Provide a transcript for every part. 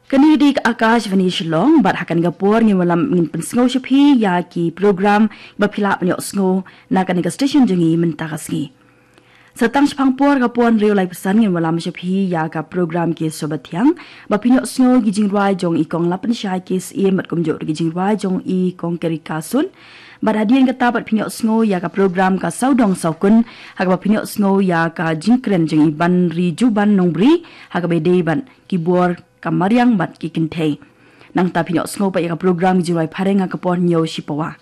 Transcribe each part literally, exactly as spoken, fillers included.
Kane ka dei ka Akashvani Shillong, bad ha kane ka por ngin wallam ngin pynsngew sha phi ïa ki program ba phi lah ban ïohsngew na kane ka station jong ngi mynta ka sngi. Sa tang shaphang por, ka por hynriew laiphew san, ngin wallam sha phi ïa ka program Ki Sur Bathiang, ba phin ïohsngew ki jingrwai jong i Kong Lapynshai K S A bad kumjuh ruh ki jingrwai jong i Kong Kerika Sun. Bad hadien kata pat phin ïohsngew ïa ka program Ka Sawdong Sawkun, ha kaba phin ïohsngew ïa ka jingkren jong i Banri Juban Nongbri ha kaba ïadei bad ki bor ka mariang bad ki kynthei. Nangta phin ïohsngew pat ïa ka program Jingrwai Phareng ha ka por hynñiew shipawa.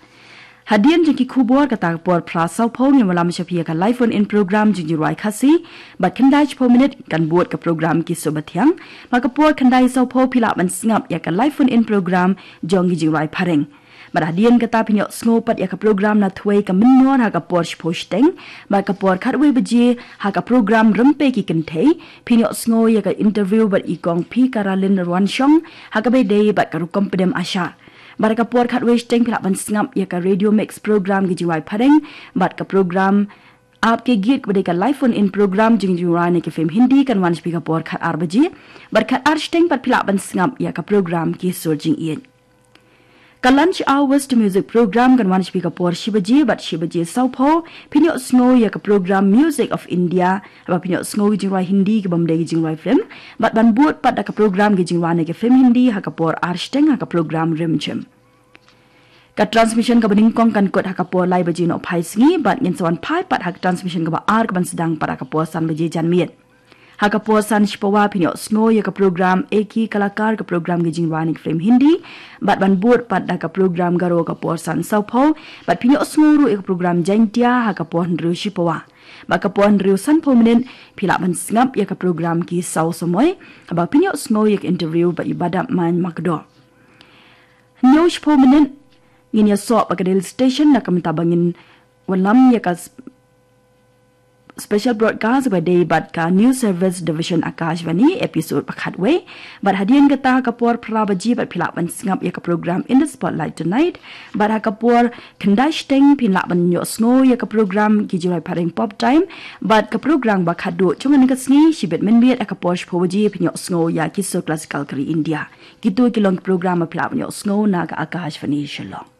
Hadien jong ki khubor, kata ka por phra sawphew, ngin wallam sha phi ïa ka live phone in program jong Jingrwai Khasi, bad khyndai shiphew minit kan bud ka program Ki Sur Bathiang. Bad ka por khyndai sawphew phi lah ban sngap ïa ka live phone in program jong ki Jingrwai Phareng. Bad hadien kata phin ïohsngew pat ïa ka program Na Thwei Ka Mynnor ha ka por shiphew shiteng. Bad ka por khatwei baje, ha ka program Rympei Ki Kynthei, phin ïohsngew ïa ka interview bad i Kong P Karalin Rwanshong ha kaba ïadei bad ka rukom pdem ASHA. Bad ka por khatwei shiteng phi lah ban sngap ïa ka Radio Mix program Ki Jingrwai Phareng, bad ka program Aapke Geet kaba dei ka live phone in program jong ki jingrwai na ki film Hindi kan wan sha phi ka por khatar baje. Bad khatar shiteng pat phi lah ban sngap ïa ka program Ki Sur Jingïeit. Ka Lunch Hours to Music program kan wan sha phi ka por shi baje, bad shi baje sawphew phin ïohsngew ïa ka program Music of India, haba phin ïohsngew ki jingrwai Hindi ki bym dei ki jingrwai film. Bad ban bud pat da ka program ki jingrwai na ki film Hindi ha ka por ar shiteng ha ka program Rimjhim. Ka transmission kaba nyngkong kan kut ha ka por lai baje nohphai sngi, bad ngin sa wan phai pat ha ka transmission kaba ar kaban sdang pat ha ka por san baje janmiet. Ha ka por san shipawa phin ïohsngew ïa ka program Ek Hi Kalakar, ka program ki jingrwai na ki film Hindi. Bad ban bud pat da ka program Garo ka por san sawphew, bad phin ïohsngew ruh ïa ka program Jaintia ha ka por hynriew shipawa. Bad ka por hynriew sanphew minit phi lah ban sngap ïa ka program Ki Saw Samoi, haba phin ïohsngew ïa ka interview bad i Badap Main Makdo. Hynñiew shiphew minit ngin ïasoh bad ka Delhi Station, na ka bynta ba ngin wallam ïa ka s-, special broadcast ba dei bad ka News Service Division Akashvani, episode ba khatwei. Bad hadien kata ha ka por phra baje pat phi lah ban sngap ïa ka program In the Spotlight Tonight. Bad ha ka por khyndai shiteng phin lah ban ïohsngew ïa ka program Ki Jingrwai Phareng Pop Time. Bad ka program ba khatduh jong kane ka sngi, shibit mynmiet ha ka por shiphew baje phin ïohsngew ïa ki sur classical ka ri India. Kito ki long ki program ba phi lah ban ïohsngew na ka Akashvani Shillong.